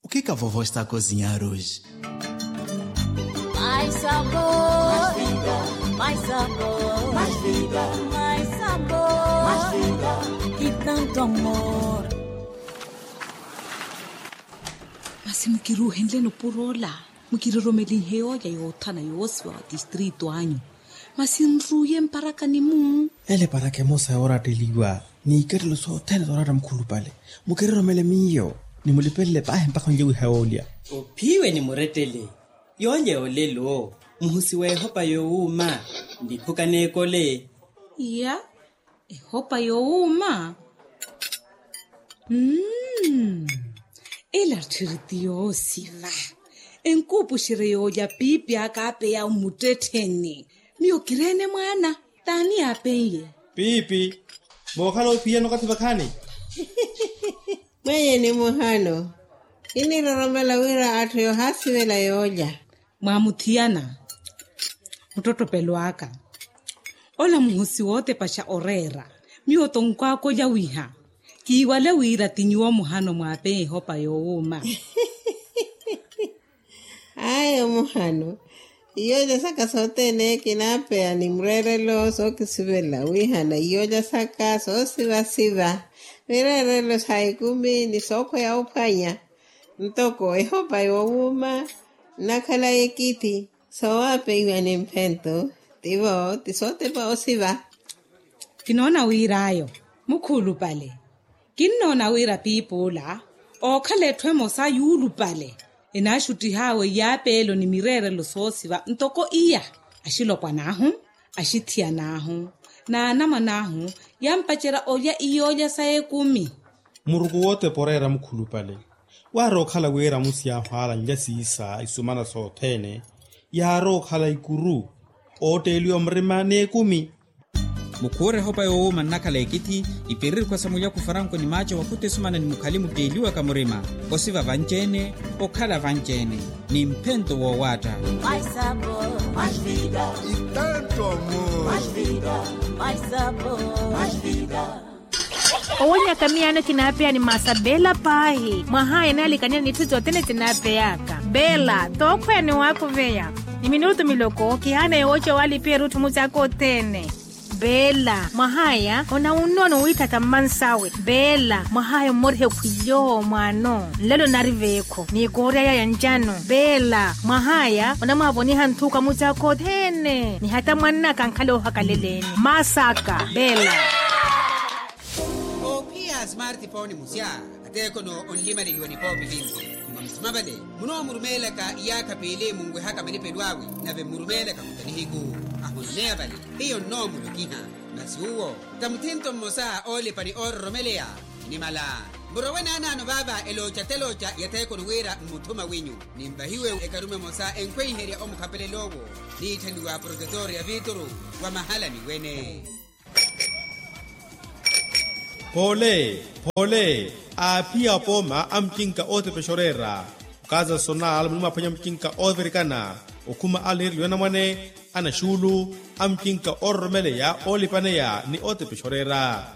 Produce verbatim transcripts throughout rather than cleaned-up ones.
O que que a vovó está a cozinhar hoje? Mais sabor, mais vida, mais sabor, mais vida, mais sabor, mais vida, e tanto amor. Masi mukiruuhenleni opuro ola, mukiroromelinhe yoolya yoothana yoosiwa wa tistrito anyu. Masi nruuye mparakani-mu. Ele eparaka emosa yooratteliwa, n'ikattelo sothene sooratta mukhulupale. Mukiroromele miyo, nimulipelele paahi mpakha onlye wiha yoolya. Ophiwe nimurettele. Yoolya yoolelo, muhusi w'ehopa yoowuuma, niphuka n'ekole. Iya, ehopa yoowuuma. Mmm. Ela tthiri ti yoosiva. Enkuupuxerye yoolya piipi aka apeya mmuttettheni. Miyo kireene mwaana. T'ani yaapen'ye? Piipi. Mookhala ophiyana okathi vakhaani? Mwenye ni muhano. Kiniroromela wira atthu yoohaasivela yoolya. Mwaamuthiyana. Muttottopelo aka. Ola muhosi wootepaxa oreera. Miyo tonkwaaka olya wiha. Kiiwale wira ti nyuwo muhano mwaapeya ehopa yoowuuma. Ayo muhano. Iyoolya saka sothene kinaapeya ni mureerelo sookisivela wihana iyoolya saka soosivasiva. Mireerelo sa ekumi ni sookhweya ophwanya. Ntoko ehopa yoowuuma nnakhala ekithi. Soowapeiwa ni mphento. Tivo ti sootepa osiva. Kinoona wir'ayo. Mukhulupale. Kinnoona wira piipi ola ookhala etthu emosa yuulupale. Enaaxuttih'awe iyaapeelo ni mireerelo soosiva ntoko iya. Axilopwan'ahu, axithiyan'ahu, n'anamwan'ahu yampacerya olya iyoolya sa ekumi. Muruku wootepa oreera mukhulupale. Waarookhala wira amusi ahwaala nlya siisa isumana sothene. Yaarookhala ikuru ootteeliwa murima n'ekumi. Mukhuure ehopa yoowuuma nnakhala ekithi. Ipiririkhwa sa mulyaku faranko ni maaco wakhuttesumana ni mukhali mutteeliwaka murima. Osiva vanci-ene, okhala vanci-ene ni mphento woowaatta. Owenyaka miyaano kinaapeya ni maasa beela paahi mwahaya enaalikaniha n'itthu sothene sinaapeyaka. Beela tookhweya ni waakuveya ni minutu miloko kihaana yooca walipiha erutthu mucaaka othene. Beela mwahaya onawunnono wiithatha mmansawe. Beela mwahaya ommoriha ekhwilyo mwaano nlelo nari veekho ni koorya yaya ncano. Beela mwahaya onamwaavoniha nthuka mucaaka othene ni hata mwannaka ankhale oohakaleleni. Masaka beela. Oophiya smartphone musya. Ateekhono onlimaleliwa ni poopi vinci. Mwa musima vale munoomurumeelaka iyaakha piili munwehaka malipelo awe. Nave mmurumeelaka muta nihiku ahononeya vale. Hiyo nnoomulokiha. Masi uwo ta muthinto mmosa oolipa ni oororomeleya. Nimala murowe naanaano vaava elooca telooca ya theekhono wira mmuthuma winyu. Ninvahiwe ekarume emosa enkhweiherya omukhapelela owo niitthaniwa profesor ya vituru wa mahala ni wene. Phoole phoole aaphiya apooma a mucinka ootepexa oreera. Okaza sonal muni mwaphwanya mucinka oovirikana okhuma alihereliwa anamwane anaxuulu a mucinka oororomeleya oolipaneya ni ootepexa oreera.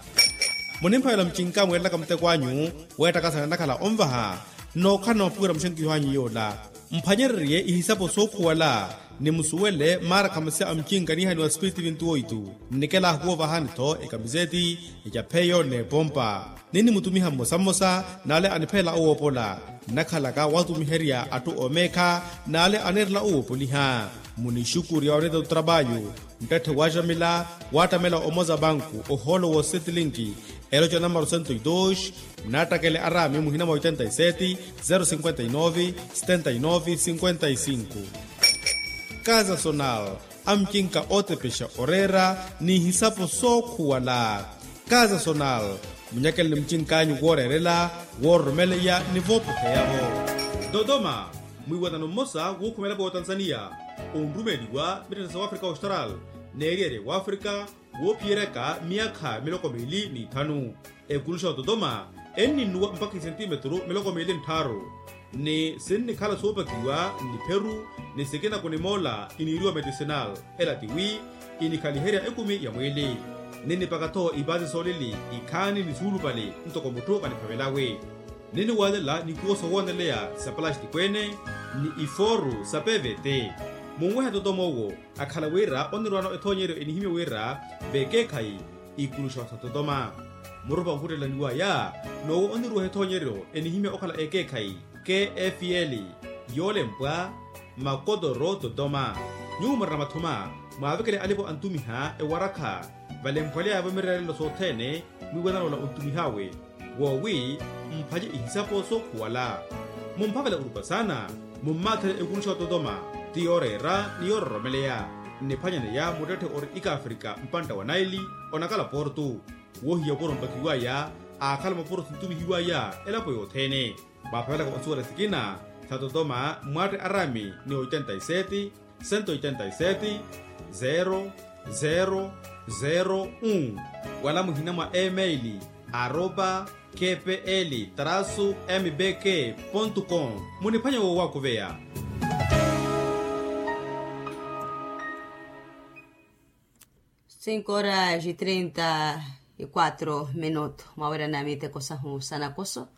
Munimphavela mucinka mweerelaka muteko anyu weettakasana nnakhala onvaha. Nnookhala na mapuwira muxenkiho anyu yoola mphwanyererye ihisapo sookhuwala ni musuwele maarakha masi a mucinka niihaniwa spiritu vintu oitu. Nnikela ahuwovaha ni-tho ekamiseti ecapheyo n'epompa ninnimutumiha mmosa mmosa n'ale aniphelela owoopola. Nnakhalaka waatumiherya atthu oomeekha n'ale aneerela owoopoliha. Munixukurya oneeta otrapayu nttatthe waaxamila waattamela omoza banku ohoolo woosetelinki. Eloca namaro sento i dos. Munaattakele araami muhina mwa oitenta i seti zero sinkwenta i novi setenta i novi sinkwenta i sinku. Kaza sonal amucinka ootepexa oreera n'ihisapo sookhuwala. Kaza sonal munyakeleni mucink'anyu wooreerela woororomeleya ni voopoheya-vo. Dodoma mwiiwanano mmosa wuukhumela pootanzaniya onrumeeliwa mittettha sa wafrika austral n'eriyerya wafrika woophiyeryaka miyakha miloko miili ni ithanu. Ekuluxa ototoma enninnuwa mpakha isentimetru miloko miili nttharu ni sinnikhala soopakiwa nnipheru ni sikina kunimoola iniiriwa medicinal. Ela tiwi inikhaliherya ekumi ya mwiili ninnipaka-tho ipaasi soolili ikhaani ni suulupale ntoko mutthu kaniphavelawe. Niniwalela nikuwo sowooneleya sa palastiko ene ni ifooru sa pevete. Munwehe atotoma owo akhala wira onirwana ethoonyeryo enihimya wira vekeekhayi ikuluxa sa totoma. Murupa ohuttela niwaya n'owo oniruweha ethoonyeryo enihimya okhala ekeekhayi kfl, yoolempwa makotoro totoma. Nyuwo murina mathuma mwaavekele alipo antumiha ewarakha valemphwaleya yavomererya lelo sothene mwiiwanana ola ontumih'awe woowi mphanye ihisapo sookhuwala. Mumphavela orupa saana mummaathele ekuluxa ototoma ti yooreera ni yoororomeleya. Nniphwanyaneya muttetthe ori ikafrika mpantta wa naili onakala portu woohiya opuro mpakiwaya aakhala mapuro sintumihiwaya elapo yothene. Mwaaphavelaka osuwela sikina sa totoma mmwaatte arami ni oitenta y sete, sento oitenta y sete, zero zero zero un wala muhina mwa email aropa kpl trasu mbk pontu com. Muniphwanya woowakuveya. Cinco horas e trinta e quatro minuto mwawerana miteko sahu sanakoso.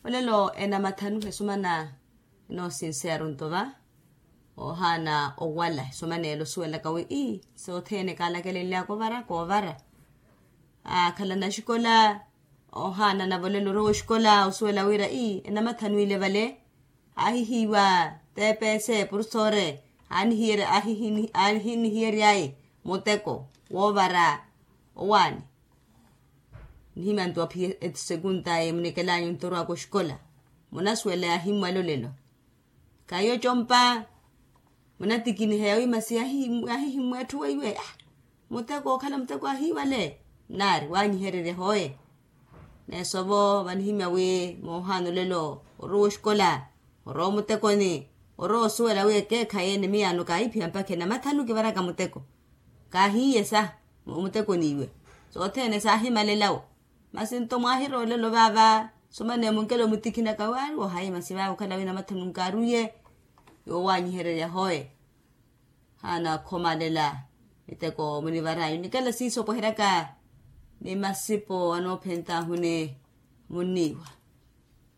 Olelo enamathanu esumana enoosinseya aruntova oohaana owala esumana elo osuwelaka wi ii sothene kaalakelenlyaka ovara koovara. Akhala naxikola ohaana nava olelo orowa oxikola osuwela wira ii enamathanu ile vale. Aahihiiwa tepese porusore aanihiyeryaye muteko woovara owaani. Nihimya nto aphiye esekunta ye munekelanyu nto orwaka oxikola munasuwela yaahimmwala olelo. Khahiyo compa munatikiniheya wi masi yaahihimmwa etthu weiwe. Muteko okhala muteko ahiiwale nnaari waanyihererya hooye. Neesovo vanihimya wi moohaana olelo orowa oxikola orowa omutekoni orowa osuwela wi ekeekhayi ene miyaano kaahiphiya mpakha enamathanu kivaraka muteko. Kaahiiye sa omutekoni iwe sothene saahimalelawo. Masi nto mwaahiroolelo vaava somane munkelo mutikhinaka waari wohayi masi vaava okhala wi namathanu nkaaruye. Yoowanyihererya hooye haana akhomalela miteko munivaranyu nikela siiso opweheryaka ni masipo anoophentahuni munniiwa.